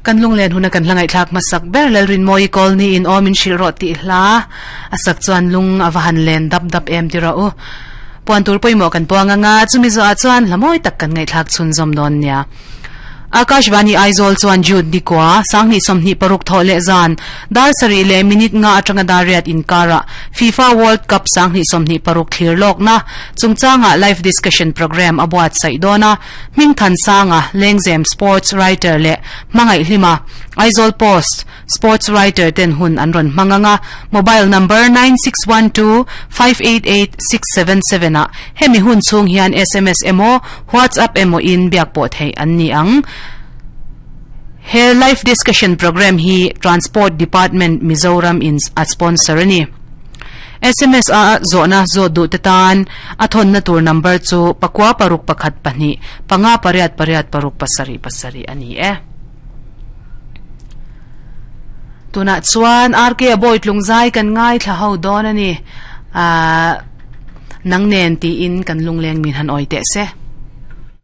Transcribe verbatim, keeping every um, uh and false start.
Kan lunglen huna kan hlangai thlak masak ber lalrin moi kol ni in omin shil ro ti hla asak chuan lung awahan len dap dap em tira u puan tur poimo kan puanga nga chumi zo a chuan lamoi tak kan ngai thlak chun zom don nia. Akashvani Aizawl chuan Jude Nikwa sangni somni paruk thole zan dar sari le minute nga atanga dariat inkara FIFA World Cup sangni somni paruk thlir lok na chungchanga live discussion program abuat sai dona mingthan sanga lengzem sports writer le mangai hlima Aizawl Post sports writer ten hun anron manganga mobile number nine six one two five eight eight six seven seven a hemi hun chung hian S M S emo WhatsApp emo in biak po thei an ni ang. He live discussion program hi Transport Department Mizoram in a sponsor ni. S M S a zona zo du tetan athon na tur number chu pakwa paruk pakhat pani panga pariat pariat paruk pasari pasari ani e. Tuna chuan R K boy tlungzai kan ngai thla ho don ani a nangnen ti in kan lungleng min han oite se.